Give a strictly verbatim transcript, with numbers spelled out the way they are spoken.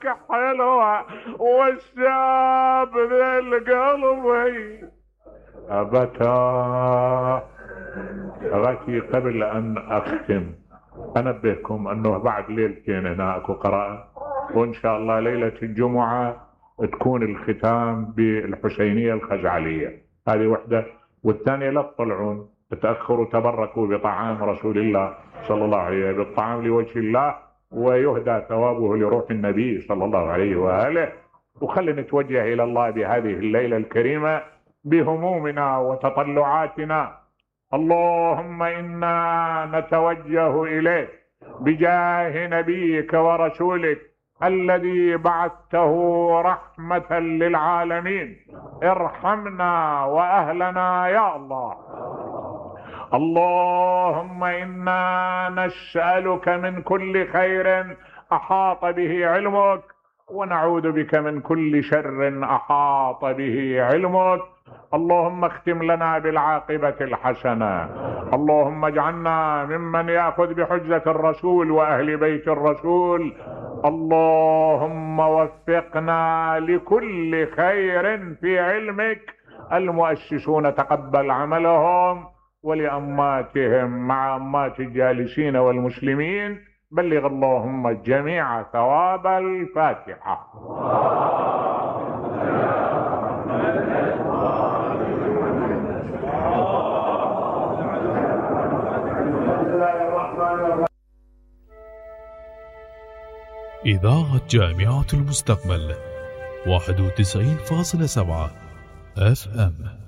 صوتك حلوة والشاب ذا القلبي أبتا. أغاتي قبل أن أختم أنبهكم أنه بعد ليلتين هنا أكو قراءة، وإن شاء الله ليلة الجمعة تكون الختام بالحسينية الخزعلية. هذه وحدة. والثانية لا تطلعون، تتأخروا، تبركوا بطعام رسول الله صلى الله عليه وسلم، بالطعام لوجه الله ويهدى ثوابه لروح النبي صلى الله عليه وآله. وخلينا نتوجه إلى الله بهذه الليلة الكريمة بهمومنا وتطلعاتنا. اللهم إنا نتوجه إليك بجاه نبيك ورسولك الذي بعثته رحمة للعالمين، ارحمنا وأهلنا يا الله. اللهم إنا نسألك من كل خير أحاط به علمك، ونعوذ بك من كل شر أحاط به علمك. اللهم اختم لنا بالعاقبة الحسنة. اللهم اجعلنا ممن يأخذ بحجة الرسول وأهل بيت الرسول. اللهم وفقنا لكل خير في علمك. المؤسسون تقبل عملهم، ولأماتهم مع أمات الجالسين والمسلمين بلغ اللهم الجميع ثواب الفاتحة. إذاعة جامعة المستقبل واحد وتسعين فاصلة سبعة اف ام.